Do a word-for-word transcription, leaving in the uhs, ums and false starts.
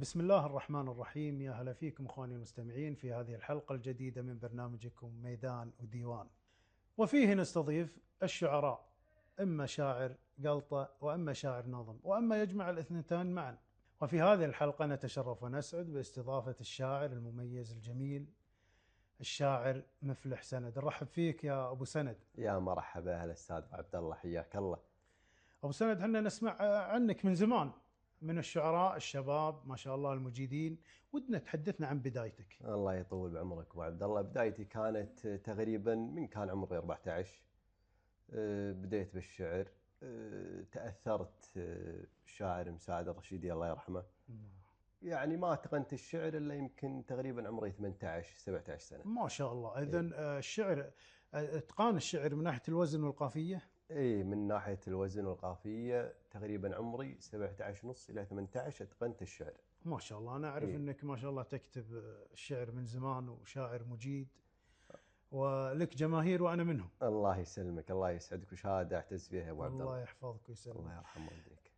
بسم الله الرحمن الرحيم. يا هلا فيكم اخواني المستمعين في هذه الحلقة الجديدة من برنامجكم ميدان وديوان، وفيه نستضيف الشعراء، اما شاعر قلطة واما شاعر نظم واما يجمع الاثنتين معا. وفي هذه الحلقة نتشرف ونسعد باستضافة الشاعر المميز الجميل الشاعر مفلح سند. نرحب فيك يا ابو سند. يا مرحبا، هلا استاذ عبد الله، حياك الله. ابو سند، احنا نسمع عنك من زمان، من الشعراء الشباب ما شاء الله المجيدين، ودنا تحدثنا عن بدايتك. الله يطول بعمرك ابو عبد الله. بدايتي كانت تقريبا من كان عمري أربعة عشر، بديت بالشعر. تأثرت بالشاعر مساعد الرشيدي الله يرحمه. يعني ما اتقنت الشعر الا يمكن تقريبا عمري ثمانية عشر سبعة عشر سنة. ما شاء الله. اذا الشعر، اتقان الشعر من ناحية الوزن والقافية. اي من ناحية الوزن والقافية تقريبا عمري سبعة عشر ونص الى ثمانية عشر اتقنت الشعر. ما شاء الله. انا اعرف إيه؟ انك ما شاء الله تكتب الشعر من زمان وشاعر مجيد ولك جماهير وانا منهم. الله يسلمك، الله يسعدك، وشهادة اعتز فيها يا ابو عبد الله. الله يحفظك ويسلمك. الله يرحم والديك.